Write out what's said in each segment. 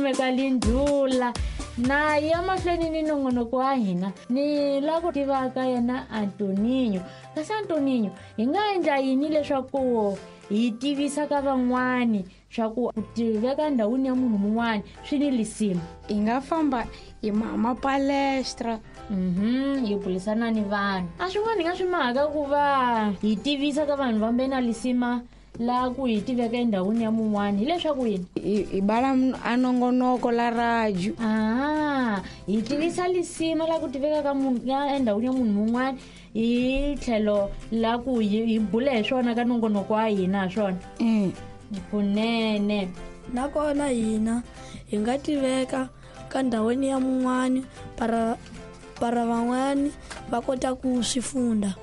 kumeka lindlula na ya mahlweni ni nongonoko wa hina ni la ku tivaka yena Antoninho. Kasi Antoninho, hi nga endla yini leswaku hi tivisa ka van'wani swa ku tiveka ndhawini ya munhu mun'wani swi ni lisima? Hi nga famba hi mapalestra. Hi bulisana ni vanhu. A swin'wana hi nga swi mhaka ku va hi tivisa ka vanhu vambe na lisima la ku hi tiveka endhawini ya mun'wani hileswaku yini? Hi bala a nongonoko la radio. Hi tivisa lisima la ku tiveka ka munhu ya endhawini ya munhu mun'wani hi tlhelo la ku hi bula hi swona ka nongonoko wa hina swona. Kunene. Nakona hina hi nga tiveka ka ndhawini ya mun'wani para van'wani va kota ku swi funda.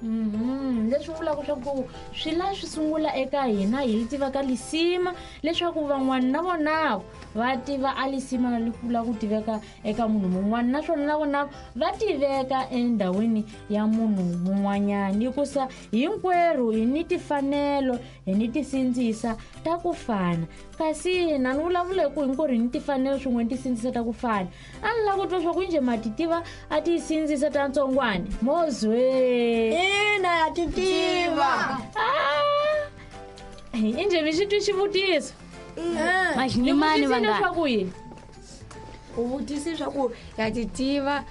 Leswi vulaka swa ku swi la swi sungula eka hina hi tiva ka lisima leswaku van'wani na vona va tiva a lisima la ku tiveka eka munhu mun'wana, naswona na vona va tiveka endhawini ya munhu mun'wanyana, hikusa hinkwerhu hi ni tifanelo, hi ni tisindzisa ta ku fana. Kasi na ni vulavula hi ku hinkwerhu hi ni tifanelo swin'we ni tisindzisa ta ku fana. A ni lava ku twa swa ku njhe ma ti tiva a ti sindzisa ta ntsongwana mozwe? Ina, ya ti tiva. Injhe mi xi twi xivutiso? Maxinimani va nga leswaku yini? U vutisi swa ku ya ti tiva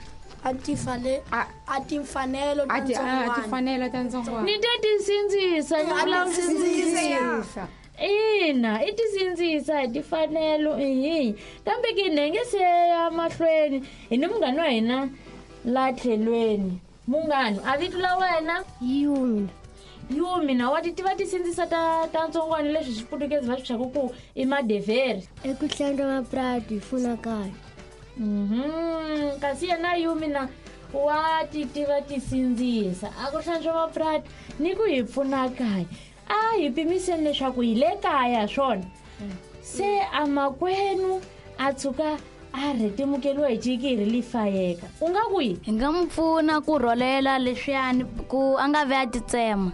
a ti fane a ti mfanelo ta ntsongwana. A ti fanelo ta ntsongwana. Ni te tisindzisa, ni vula sindzisa. Ina, i tisindzisa hi tifanelo ihi. Kambe ke nenge se ya mahlweni hi ni munghani wa hina la tlhelweni. Munghani, a vito la wena? Yumi. Yumi, na wa ti tiva tisindzisa ta ntsongwana leswi xiputukezi va swi thyaka ku i madevheri? Eku hlantswa mapurasi hi pfuna kaya. Kasi yena Yumi na wa ti tiva tisindzisa a ku hlantswa mapurasi ni ku hi pfuna kaya. A hi pimiseni leswaku hi le kaya swona. Se a makwenu a tshuka a rhetemukeliwa hi cikiri li fayeka. U nga ku yini? Hi nga n'wi pfuna ku rholela leswiyani ku a nga vi a titsema.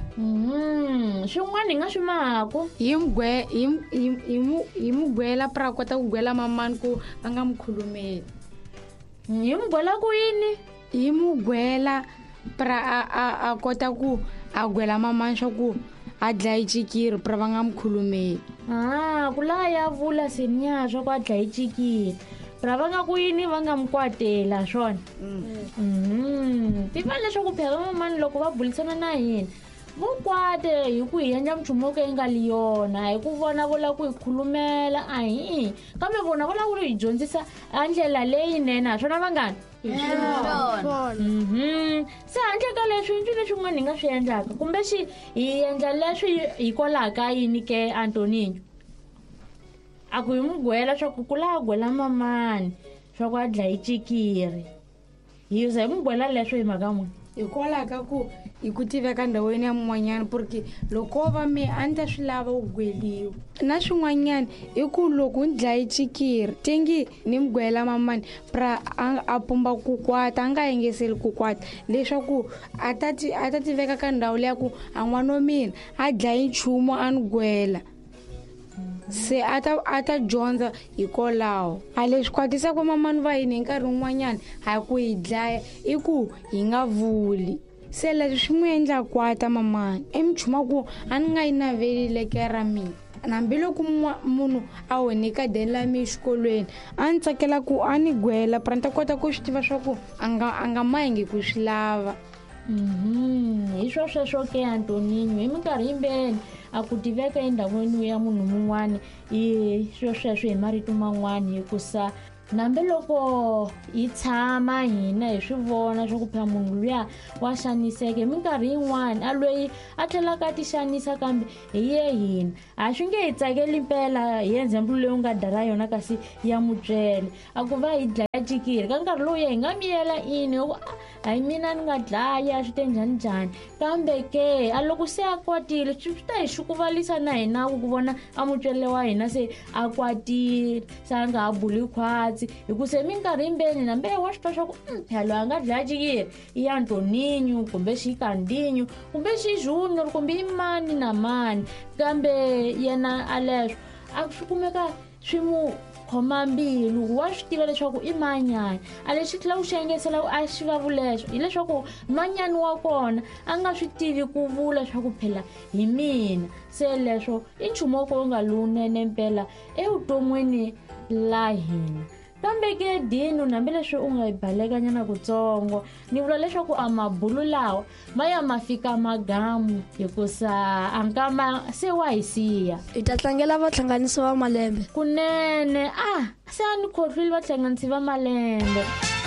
Swin'wana hi nga swi mahaku. Hi n'wi gwela pra kota ku gwela mamani ku va nga n'wi khulumeli. Hi n'wi gwela ku yini? Hi n'wi gwela pra a kota ku a gwela mamani swa ku a dlaye cikiri pra va nga n'wi khulumeli. Ku la ya vula seniya swa ku a dlaye cikiri pra va nga ku yini va nga n'wi kwatela swona. Tiva leswaku phela mamani loko va bulisana na hina vo kwate hi ku hi endla nchumu wo ka yi nga li yona, hi ku vona vo lava ku hi khulumela a hi, kambe vona vo lava ku hi dyondzisa a ndlela leyinene, ha swona vanghana? Se handle ka leswi ncini swin'wana hi nga swi endlaka kumbe xi hi endla leswi hikwalaho ka yini ke Antoninho? A ku hi n'wi gwela swa ku ku la gwela mamani swa ku a dlaye cikiri, hi za hi n'wi gwela leswo hi mhaka n'wina? Hikwalaho ka ku hi ku tiveka ndhawini ya mun'wanyana, porque loko va me a ni ta swi lava ku gweliwa. Na swin'wanyana i ku loko ni dlaye cikiri tengi ni mi gwela mamani pra a pumba ku kwata, a nga yingiseli ku kwata, leswaku a ta ti, a ta tiveka ka ndhawu leya ku a n'wana wa mina a dlayi nchumu a ni gwela. Se a ta dyondza hikwalaho. A leswi kwatisaka mamani va hina hi nkarhi wun'wanyana ha ku hi dlaya i ku hi nga vuli. Se leswi swi n'wi endla kwata mamani, i minchumu ku a ni nga yi naveli leke ra mina. Hambiloko munhu a onhe ka deni la mina exikolweni, a ni tsakela ku a ni gwela pra ni ta kota ku swi tiva swa ku a nga mahingi ku swi lava. Hi swo sweswo ke Antoninho, hi minkarhi yimbeni a ku tiveka endhawini ya munhu mun'wani hi swo sweswo hi marito man'wani, hikusa hambiloko hi tshama hina hi swi vona swa ku phela munhu luya wa xaniseka hi minkarhi yin'wani, a loyi a tlhelaka a ti xanisa kambe hi ye hina a swi nge hi tsakeli mpela hi example leyi u nga dara yona kasi ya mutswele a ku va hi dlaya cikiri ka nkarhi lowu hi nga miyela ini hi ku hayi mina ni nga dlaya swi te njhani njhani, kambe ke a loko se a kwatile swi ta hi xukuvalisa na hina ku vona a mutswele wa hina se a kwatile se a nga ha buli khwatsi, hi ku se minkarhi yimbeni nambe wa swi twa swa ku phela loyi a nga dlaya cikiri i Antoninho kumbe xi Kandinho kumbe xi Junior kumbe i mani na mani, kambe yena a leswo a swi kumeka swi mu Khoma mbilu, wa swi tiva leswaku i manyani. A lexi tlhela ku xi engetela a xi va vulexo hileswaku manyani wa kona a nga swi tivi ku vula swa ku phela hi mina. Se leswo i nchumu wo ka wu nga lowunene mpela evuton'wini la hina. Kambe ke Dino, hambileswi u nga yi balekanyana kutsongo, ni vula leswaku a mabulu lawa ma ya ma fika magamu, hikusa a nkama se wa hi siya. Hi ta tlangela vahlanganisi va malembe. Kunene, a se a ni khohlwile vahlanganisi va malembe.